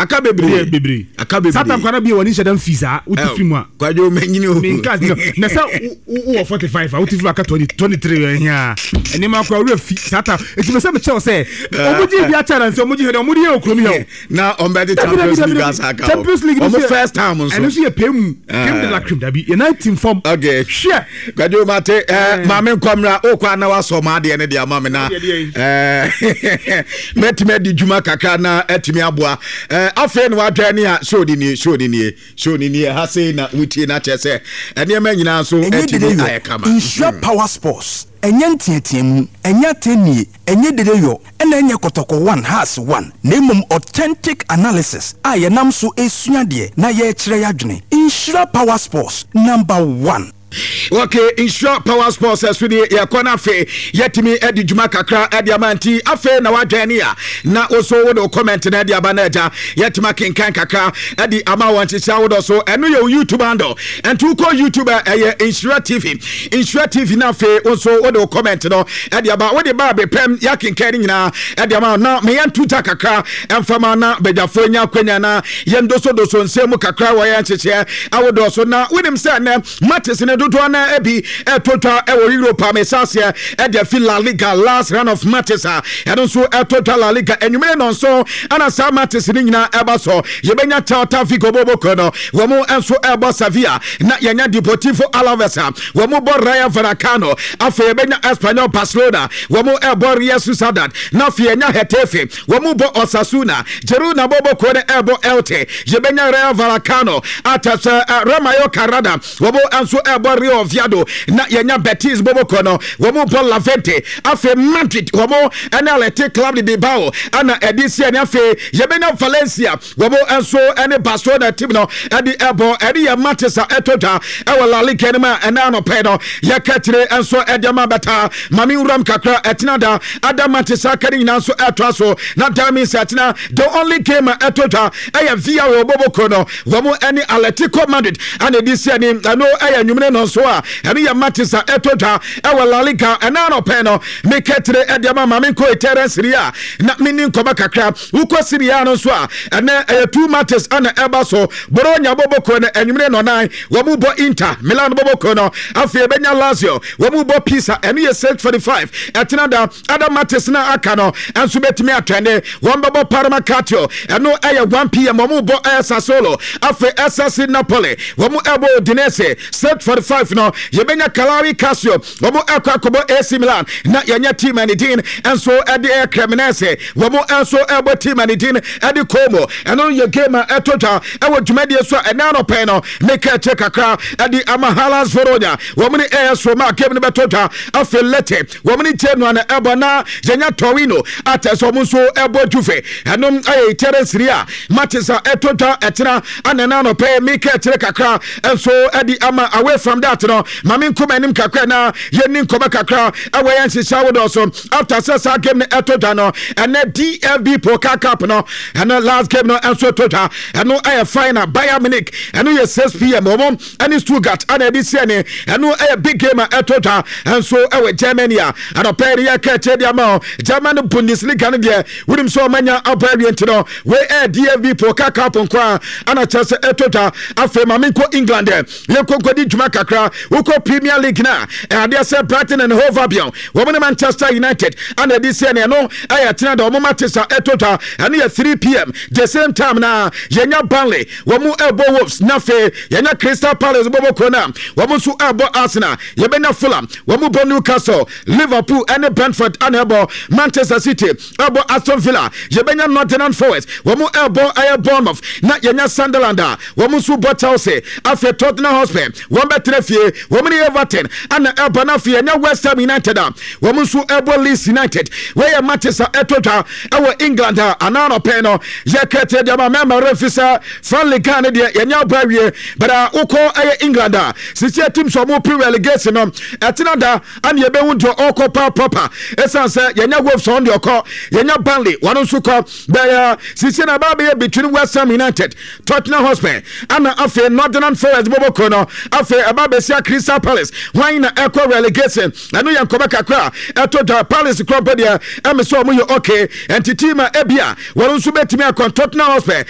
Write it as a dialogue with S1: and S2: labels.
S1: Aka bebree.
S2: Bebree.
S1: Aka bebree.
S2: Saa tam kwana bi wɔ ne nhyɛ dɛm fi saa wote firi mu a.
S1: Kwadwo manyini o.
S2: Menka na sɛ wowɔ 45 a, wote firi mu aka 20 23 ɛhia nneɛma akora wura fi saa tam. Eti mɛ sɛ mekyɛw sɛ ɔmo gye bi akyɛ na nsɛ ɔmo gye hwɛ dɛ ɔmo de yɛ wɔ kurom yɛ o.
S1: Na ɔmo bɛ de Champions League asa aka o.
S2: Champions League.
S1: Ɔmo first time nso.
S2: Ɛno nso yɛ pɛ mu crème de la crème, dabi yɛ nan tim fam.
S1: Okay.
S2: Hwɛ.
S1: Kwadwo mate ɛɛ maame nkɔmra okɔ ana wasɔ ɔmo adeɛ ne de ama mi na mɛtumi adi dwuma kakra na ɛtumi aboa. Afei na wadwɛn ne a show ni nie, show ni nie, show ni nie. Ha sei na wotie na kyerɛ sɛ nneɛma nyinaa nso
S3: ɛnyɛ
S1: ɛtumi
S3: dede yɔ
S1: ayɛ kama.
S3: Nhyira Power Sports, ɛnyɛ nteateamu, ɛnyɛ atɛnnie, ɛnyɛ dede yɔ, ɛna ɛnyɛ Kɔtɔkɔ 1 Hearts 1, na mmom authentic analysis a yɛnam so esua deɛ na yɛrekyerɛ yɛadwene. Nhyira Power Sports, number one.
S1: Okay, Nhyira Power Sports ɛso nie. Yɛkɔ no afei yɛtumi adi dwuma kakra ɛde ama. Nti afei na wadwɛn ne a na wo so wode wo comment no ɛde aba no agya yɛtumi akenkan kakra ɛde ama wɔn nhyehyɛ awodɔ so. Ɛno yɛ wo YouTube handle. Ɛnti wokɔ YouTube a, ɛyɛ Nhyira TV, Nhyira TV. Na afei wo nso wode wo comment no ɛde aba, wode ba abepɛm yɛakenkan no nyinaa ɛde ama. Na meyɛ nto gya kakra ɛmfama na badwafoɔ nya akwanya na yɛn dosodoso nsɛm mu kakra wɔ yɛn nhyehyɛ awodoɔ so. Na wonim sɛ ɛnɛ matches ne dodoɔ na ebi ɛto twa ɛwɔ Europe a mesaseɛ ɛde afi La Liga, last round of matches a ɛno nso ɛto twa La Liga enwumere no nso ɛna saa matches ne nyinaa ɛba so. Yɛbɛnya Celta Vigo boboko no, wɔn nso ɛbɔ Sevilla, na yɛnya Deportivo Alaves a wɔn bɔ Rayo Vallecano. Afei yɛbɛnya Espanyol Barcelona, wɔn ɛbɔ Real Sociedad, na afei yɛnya Getafe, wɔn bɔ Osasuna. Girona boboko no ɛbɔ Elche. Yɛbɛnya Rayo Vallecano atasɛ Rayo Carada, wɔn nso ɛbɔ Real Oviedo, na yɛnya Betis boboko no, wɔn bɔ Levante. Afei Madrid wɔn ɛne Athletic Club de Bilbao ɛna ɛde si ɛne. Afei yɛbɛnya Valencia, wɔn nso ɛne Barcelona team no ɛde ɛbɔ. Ɛde yɛ matches a ɛtɔ dwa ɛwɔ La Liga no mu a ɛnɛ anɔpɛ no yɛka kyerɛ nso ɛde ama bɛta. Maame nwuram kakra ɛtena da ada matches aka ne nyinaa nso ɛtoa so. Na that means ɛtena the only game a ɛtɔ dwa ɛyɛ Villarreal boboko no, wɔn ɛne Atletico Madrid ɛna ɛde si ɛni. Ɛno ɛyɛ nwumire no nso a ɛno yɛ matches a ɛtɔ dwa ɛwɔ La Liga ɛnɛ anɔpɛ no meka kyerɛ ɛde ama. Maame nkɔ Italian Serie A na meni nkɔmɔ kakra. Wokɔ Serie A no nso a, ɛnɛ ɛyɛ two matches ɛna ɛba so. Bologna bɔbɔkɔ no anwumere nɔnan wɔn bɔ Inter Milan bɔbɔkɔ no. Afei ɛbɛnya Lazio, wɔn bɔ Pisa. Ɛno yɛ 6:45. Ɛtena da ada matches na aka no ɛnso bɛtumi atwɛne. Wɔn bɛbɔ Parma Calcio, ɛno ɛyɛ 1 p.m. Wɔn bɔ ɛyɛ Sassuolo. Afei SSC Napoli wɔn ɛbɔ Udinese 6:45 no. Yɛbɛnya Cagliari Calcio, wɔn ɛkɔ akɔbɔ AC Milan, na yɛnyɛ team a ne din nso ɛde ɛyɛ Cremonese, wɔn nso ɛbɔ team a ne din ɛde Como. Ɛno yɛ game a ɛtɔ dwa ɛwɔ dwumadie so a ɛnɛ anɔpɛ no meka akyire kakra ɛde ama. Hellas Verona wɔn ne AS Roma game no bɛtɔ dwa. Afei Lecce wɔn ne Genoa na ɛbɔ, na yɛnya Torino atɛ sɛ wɔn nso ɛbɔ Juve. Ɛnom ɛyɛ Italian Serie A matches a ɛtɔ dwa ɛtena ana ɛnɛ anɔpɛ meka akyire kakra nso ɛde ama. Away from that no, maame nkɔmɔ anim kakra na yɛni nkɔmɔ kakra ɛwɔ yɛn nhyehyɛ awodoɔ so. After sɛ saa game no ɛtɔ dwa no, ɛnɛ DFB Pokal Cup no, ɛno last game no nso ɛtɔ dwa. Ɛno ɛyɛ final, Bayern Munich, ɛno yɛ 6 p.m., wɔn ɛne Stuttgart ɛna ɛde si ɛne. Ɛno ɛyɛ big game a ɛtɔ dwa nso ɛwɔ Germany a anɔpɛ yɛ yɛka ɛkyɛ de ama o. German Bundesliga no deɛ, wonim sɛ ɔmanya abɔ awie, nti no wei ɛyɛ DFB Pokal Cup nko a ana kyerɛ sɛ ɛtɔ dwa. Afei maame nkɔ England ɛ, yɛnkɔ nkɔdi dwuma kakra. Wokɔ Premier League no a, ɛadeɛ sɛ Brighton and Hove Albion wɔn ne Manchester United ana ɛde si ɛne. Ɛno ɛyɛ tena da wɔn matches a ɛtɔ dwa, ɛno yɛ 3 p.m. The same time na yɛnya Burnley, wɔn ɛbɔ Wolves, na afei yɛnya Crystal Palace bɔbɔ kuro no a wɔn nso ɛbɔ Arsenal. Yɛbɛnya Fulham, wɔn bɔ Newcastle. Liverpool ɛne Brentford ana ɛbɔ. Manchester City ɛbɔ Aston Villa. Yɛbɛnya Nottingham Forest, wɔn ɛbɔ ɛyɛ Bournemouth, na yɛnya Sunderland a wɔn nso bɔ Chelsea. Afei Tottenham Hotspur wɔn bɛtena fie, wɔn ne Everton ana ɛbɔ, na afei yɛnya West Ham United a wɔn nso ɛbɔ Leeds United. Wɔyɛ matches a ɛtɔ dwa ɛwɔ England a anaa nɔpɛ no yɛka kyerɛ deɛ ma mɛma remfi sɛ friendly Ghana deɛ yɛnya abɔ awie. But wokɔ ɛyɛ England a, sisi team sɛ ɔmo pre relegation no, ɛtena da ana yɛbɛhu deɛ ɔkɔ pa proper, ɛsiane sɛ yɛnya Wolves ɔn deɛ ɔkɔ, yɛnya Burnley wɔn nso kɔ bɛyɛ. Sisi na ɛbaa bɛyɛ between West Ham United, Tottenham Hotspur ana afei Nottingham Forest bɔbɔ kuro no. Afei ɛba bɛsia Crystal Palace, wɔn na ɛkɔ relegation. Ɛno yɛ nkɔmɔ kakra ɛto dwa. Palace kuro mpo deɛ ɛmi sɛ ɔmo yɛ okay, nti team a ebia wɔn nso bɛtumi akɔ Tottenham Hotspur.